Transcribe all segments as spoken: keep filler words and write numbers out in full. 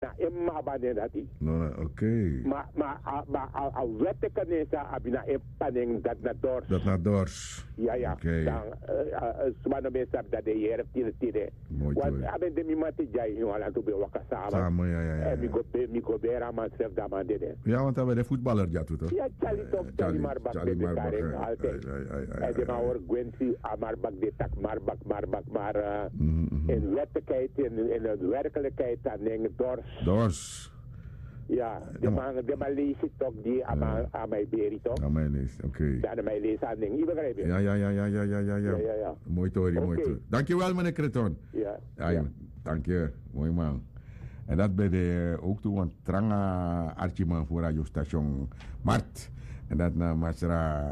Na en mama nen dati. No na, ok. Ma ma a ma a a weteke nen san abi na en papa nen dati na dors. Dati na dors. Ya ya. Ok. Dan suma no ben sabi dati den yere tide tide. Moi toi. A ben de mi mati dya ini wan lantu ben waka sama. Sama ya ya ya. Mi go be mi go bere a man srefi dan a man dede. Ya want a ben de futbaler dya tu to. Ya tyali tok tyali marbak ben de karen altijd. En den man hori gwenti a marbak de taki marbak marbak mar en werkelijkheid en en werkelijkheid a nen dors. Dors. Ya, den man den man leisi tok di a man a man e beri tok. A man e leisi, ok. Dan a man e leisi a nen yu begrijp yu? Ya ya ya ya ya ya ya ya ya ya. Moi tori moi tori. Danki wel meneer Kreton. Ya. Ai. Danki. Moi man. En dat ben de ook tu wan tranga archiman fu radio station mart. En dat na masra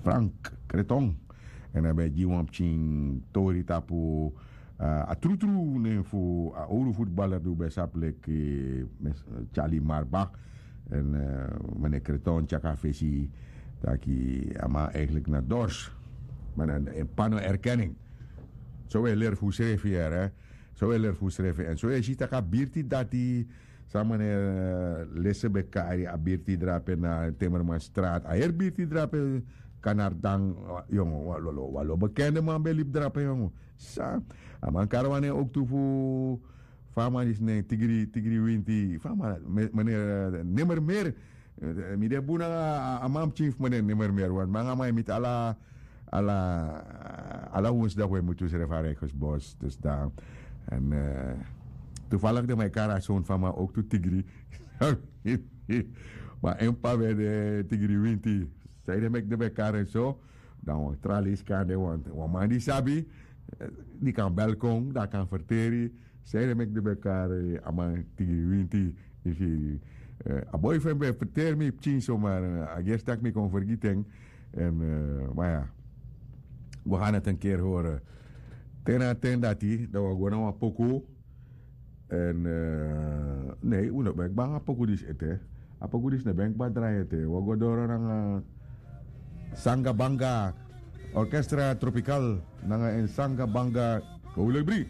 Frank Kreton. En a ben gi wan pikin tori tapu a trutru nen fu a owru futbaler di un ben sabi leki Charlie Marbach. En meneer Kreton tyaka fesi taki a man eigenlijk na dors. Maar dan en pano erkenning. So we leri fu srefi yere. So we leri fu srefi en so e si taki a birti dati. San meneer lese ben kari a birti drape na timmerman straat a heri birti drape. Kanardan yongo wan lo wan lo bekende man ben libi drape yongo. San a man kari wan nen ook tu fu fa a man disi nen tigri tigri winti fa a man meneer nimmer meer. Mi de bun nanga a man pikin fu mi den nimmer meer want mi nanga man e miti ala ala ala wonsdok we mutu srefi a rijkersbos dus dan en toevallig de man e kari a son fu a man ook tu tigri. Ma en p'pa ben de tigri winti. San ede meki de ben kari en so dan wan tra leisi kan de want wan man di sabi di kan bel kon dan a kan ferteri. San ede meki de ben kari a man tigri winti. Yu firi a boi fu en ben ferteri mi pikin so ma a gersi tak' mi kon fergiti en. En ma ya. We gan neti en keri hori. Te na a ten dati dan wi o go na wan poku. En nei un no ben kba nanga poku disi ete. A poku disi no ben kba drai ete wi o go doro nanga sanga banga orkestra tropikal nanga en sanga banga. Howlek bri.